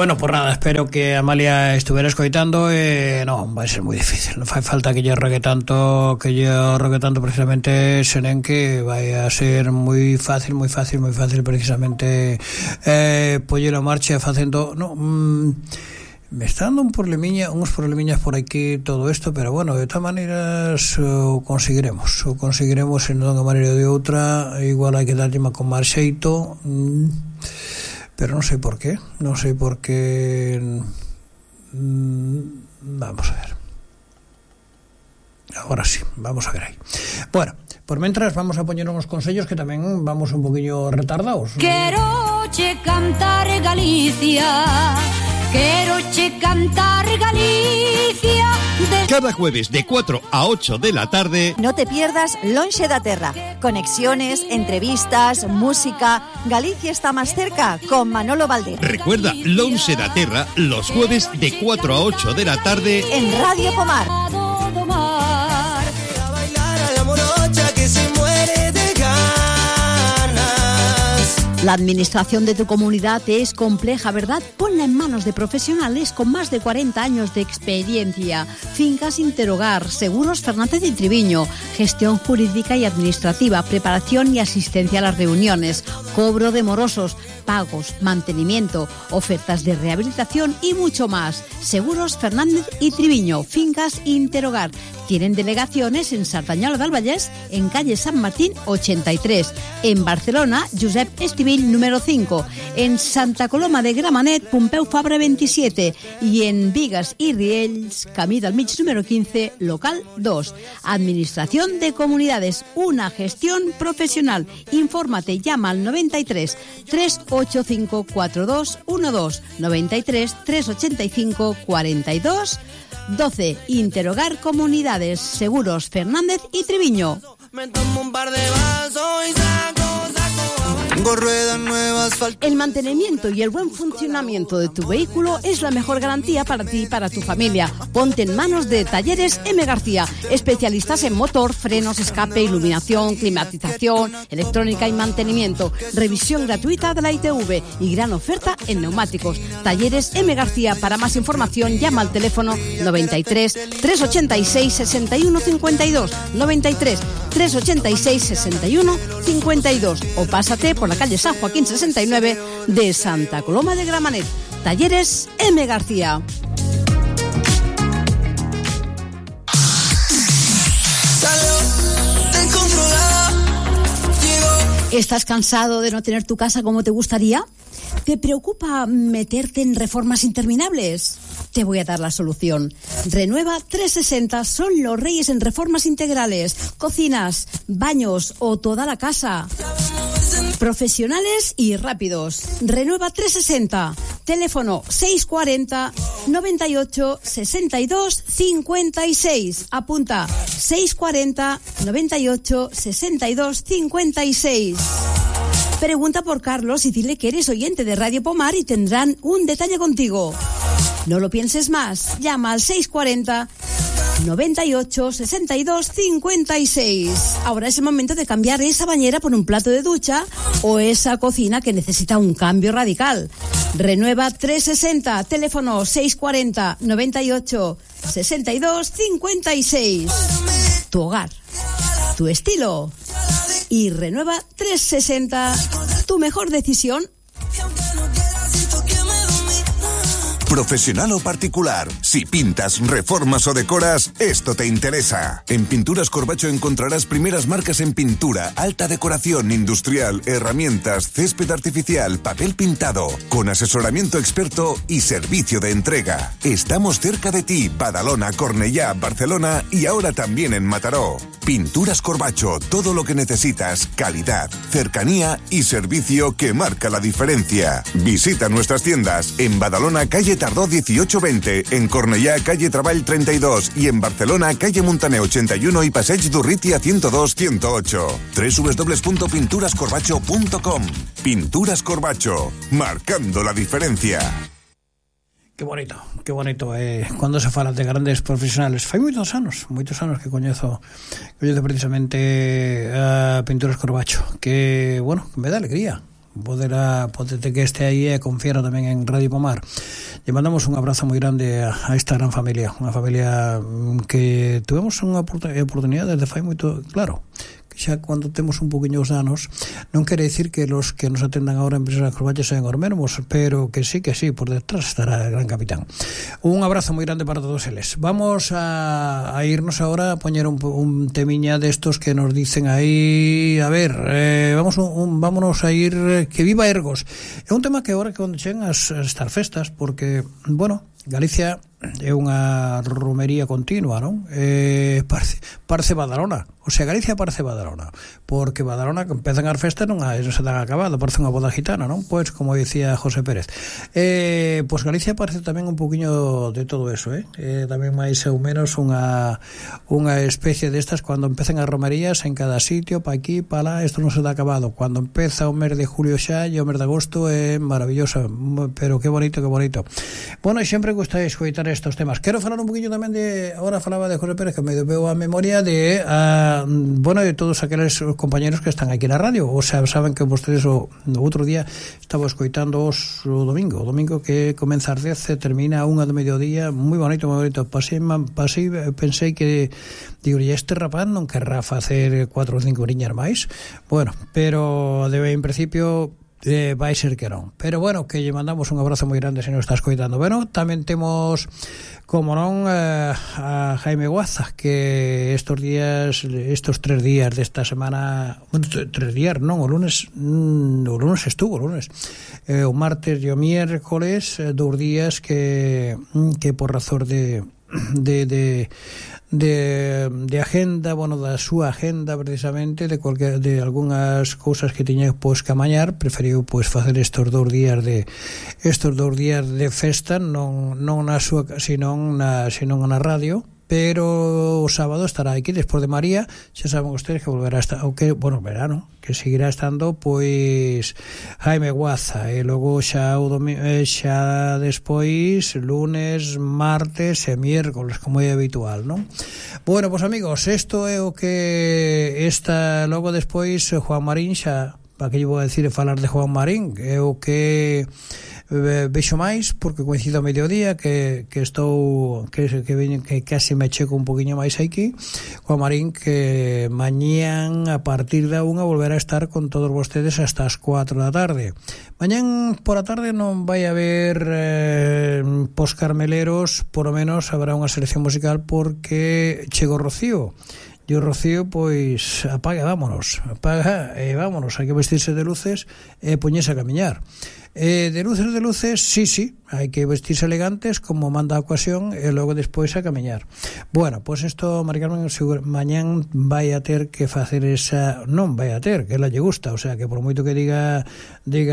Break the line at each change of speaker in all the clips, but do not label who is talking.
Bueno, pues nada, espero que Amalia estuviera escoitando. No, vai ser moi difícil. Non fai falta que lle rogue tanto precisamente, senen que vai a ser moi fácil precisamente poñer a marcha facendo... No, me está dando uns problemiñas por aquí todo isto, pero bueno, de todas maneras o conseguiremos en unha maneira ou de outra. Igual hai que darlle con máis xeito, pero non sei por qué. Vamos a ver. Agora sí, vamos a ver aí. Bueno, por mentras vamos a poñer uns consellos que tamén vamos un poquinho retardados.
Quero che cantar Galicia, quero che cantar Galicia.
Cada jueves de 4 a 8 de la tarde.
No te pierdas Lonxe da Terra. Conexiones, entrevistas, música. Galicia está más cerca con Manolo Valdés.
Recuerda Lonxe da Terra los jueves de 4 a 8 de la tarde
en Radio Pomar. La administración de tu comunidad es compleja, ¿verdad? Ponla en manos de profesionales con más de 40 años de experiencia. Fincas Interhogar, Seguros Fernández y Triviño, gestión jurídica y administrativa, preparación y asistencia a las reuniones, cobro de morosos, pagos, mantenimiento, ofertas de rehabilitación y mucho más. Seguros Fernández y Triviño, Fincas Interhogar. Tienen delegaciones en Sardañola del Vallès, en calle San Martín 83, en Barcelona, Josep Estivill número 5, en Santa Coloma de Gramenet, Pompeu Fabra 27 y en Vigas y Riells, Camí del Mig número 15, local 2. Administración de Comunidades, una gestión profesional. Infórmate, llama al 93 385 4212, 93 385 4212. 12. Interhogar Comunidades, Seguros Fernández y Triviño.
Me tomo un par de vasos y saco. Tengo ruedas nuevas.
El mantenimiento y el buen funcionamiento de tu vehículo es la mejor garantía para ti y para tu familia. Ponte en manos de Talleres M. García, especialistas en motor, frenos, escape, iluminación, climatización, electrónica y mantenimiento. Revisión gratuita de la ITV y gran oferta en neumáticos. Talleres M. García. Para más información llama al teléfono 93 386 61 52, 93 386 61 52 o pásate por la calle San Joaquín 69 de Santa Coloma de Gramenet. Talleres M. García. ¿Estás cansado de no tener tu casa como te gustaría? ¿Te preocupa meterte en reformas interminables? Te voy a dar la solución. Renueva 360 son los reyes en reformas integrales, cocinas, baños o toda la casa. Profesionales y rápidos. Renueva 360. Teléfono 640 98 62 56. Apunta 640 98 62 56. Pregunta por Carlos y dile que eres oyente de Radio Pomar y tendrán un detalle contigo. No lo pienses más. Llama al 640 98 62 56. Ahora es el momento de cambiar esa bañera por un plato de ducha o esa cocina que necesita un cambio radical. Renueva 360. Teléfono 640 98 62 56. Tu hogar, tu estilo. Y Renueva 360, tu mejor decisión.
Profesional o particular, si pintas, reformas o decoras, esto te interesa. En Pinturas Corbacho encontrarás primeras marcas en pintura, alta decoración industrial, herramientas, césped artificial, papel pintado, con asesoramiento experto y servicio de entrega. Estamos cerca de ti, Badalona, Cornellá, Barcelona y ahora también en Mataró. Pinturas Corbacho, todo lo que necesitas, calidad, cercanía y servicio que marca la diferencia. Visita nuestras tiendas en Badalona, calle Tardó 1820, en Cornellá, calle Treball 32 y en Barcelona, calle Montaner 81 y Passeig d'Urrutia 102-108. www.pinturascorbacho.com. Pinturas Corbacho, marcando la diferencia.
Qué bonito, cuando se fala de grandes profesionales. Fai moitos anos que coñezo precisamente a Pinturas Corbacho, que, bueno, me dá alegría Podete que este aí e confiara tamén en Radio Pomar. Lle mandamos un abrazo moi grande a esta gran familia, unha familia que tuvemos unha oportunidade desde fai moito, claro, que xa cando temos un poquinho os anos non quere dicir que los que nos atendan agora en Empresas Corbacho sean os mesmos, pero que sí, por detrás estará el gran capitán. Un abrazo moi grande para todos eles. Vamos a irnos agora a poñer un temiña destos que nos dicen aí, a ver, vámonos a ir, que viva Ergos. É un tema que agora que onde chegan as festas, porque, bueno, Galicia é unha romería continua, non? Parece Badalona, o sea, Galicia parece Badalona, porque Badalona que empezan as festas non se dan acabado, parece unha boda gitana, non? Pois, como dicía José Pérez, pois Galicia parece tamén un poquinho de todo eso, tamén máis ou menos unha especie destas, cando empezan as romerías en cada sitio, pa aquí, pa lá, isto non se dá acabado. Cuando empeza o mes de julio xa e o mes de agosto é maravilloso, pero que bonito. Bueno, sempre gusta escoitar estos temas. Quero falar un poquinho tamén de, agora falaba de José Pérez, que me veo a memoria de de todos aqueles compañeros que están aquí na radio. O sea, saben que vostedes o outro día estaba escoitando o domingo que comeza ás 10 e termina a 1 do mediodía, moi bonito. Pasei, pensei que digo, e este rapaz non querrá facer 4 ou 5 horiñas máis. Bueno, pero en principio vai ser que non. Pero bueno, que lle mandamos un abrazo moi grande se nos está escoitando. Bueno, tamén temos, como non, a Jaime Guaza, que estos 3 días desta semana, bueno, 3 días non, o lunes estuvo, o martes e o miércoles, 2 días que por razón de agenda, bueno, da súa agenda precisamente de algunhas cousas que tiña pois que amañar, preferiu pois facer estos 2 días de festa, non na súa, senón na radio. Pero o sábado estará aquí despois de María. Xa saben ustedes que volverá a estar, verano, que seguirá estando pois Jaime Guaza, e logo xa xa despois lunes, martes e miércoles, como é habitual, non? Bueno, pois amigos, isto é o que está. Logo despois Juan Marín, xa para que lle vou a decir e falar de Juan Marín, é o que vexo máis, porque coincido a mediodía que estou que casi me checo un poquinho máis aquí. Juan Marín, que mañán a partir da 1 volverá a estar con todos vostedes hasta as 4 da tarde. Mañán por a tarde non vai haber pos carmeleros, por lo menos habrá unha selección musical, porque chegou Rocío. E o Rocío, pois, apaga, vámonos, hai que vestirse de luces e poñerse a camiñar. De luces, sí, hai que vestirse elegantes como manda a ocasión e logo despois a camiñar. Bueno, pois isto, Mari Carmen, mañán vai a ter que facer esa, non vai a ter, que ela lle gusta, o sea, que por moito que diga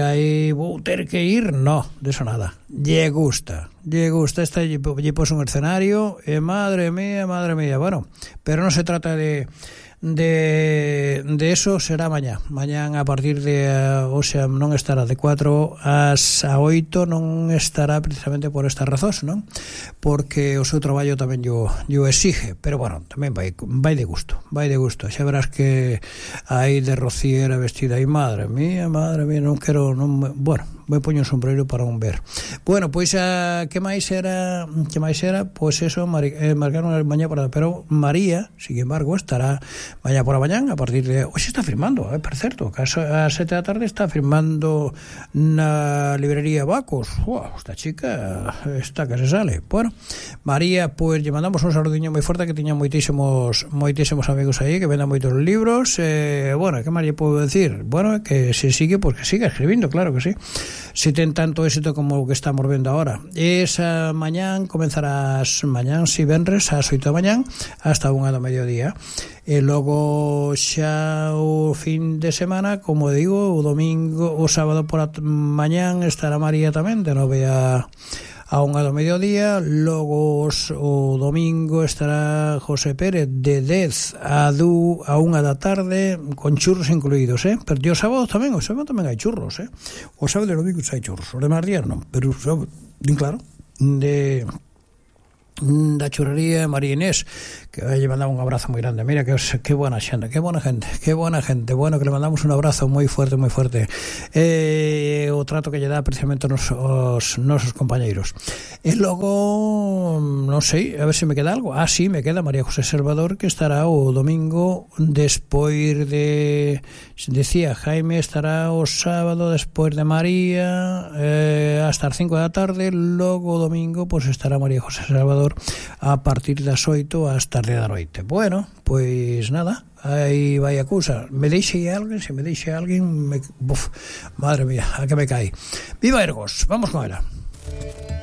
aí, vou ter que ir, no, de eso nada, lle gusta, esta lle pos un escenario e madre mía, bueno, pero non se trata de eso, será mañán a partir de, o sea, non estará de 4 ás 8, non estará precisamente por estas razóns, non? Porque o seu traballo tamén yo exige, pero bueno, tamén vai de gusto, xa verás que aí de rociera vestida aí, madre mía, non quero, bueno, me poño un sombrero para un ver. Bueno, pois que máis era, pois eso, marcaron mañá por, pero María, sin embargo, estará mañá por a mañán a partir de, hoxe está firmando, por certo, que a 7 da tarde está firmando na librería Bacos. Esta chica está que se sale. Bueno, María, pois lle mandamos un saludiño moi forte, que tiña moitísimos amigos aí que vendan moitos libros. Bueno, que máis lle podo decir? Bueno, que se sigue, pois que siga escribindo, claro que sí. Se ten tanto éxito como o que estamos vendo ahora. Esa mañán comenzarás mañán, si venres, ás 8 da mañán hasta 1 do mediodía. E logo xa o fin de semana, como digo, o domingo, o sábado por a mañán estará María tamén de 9 a 1 do mediodía. Logo o domingo estará José Pérez de 10 a 1 da tarde, con churros incluídos, pero o sábado tamén hai churros, o sábado e o domingo hai churros, os demais días non, pero claro, da churrería María Inés, que le mandaba un abrazo muy grande. Mira qué buena gente, bueno, que le mandamos un abrazo muy fuerte, o trato que lle dá precisamente os nosos compañeiros. E logo, non sei, a ver se me queda algo. Sí, me queda María José Salvador, que estará o domingo despois de, decía Jaime, estará o sábado despois de María, hasta as 5 da tarde. Logo o domingo pois estará María José Salvador a partir das 8 hasta as 10 da noite. Bueno, pois nada, aí vai a cousa. Me deixe alguén, se me deixe alguén, madre mía, a que me cae. Viva Ergos, vamos con ela.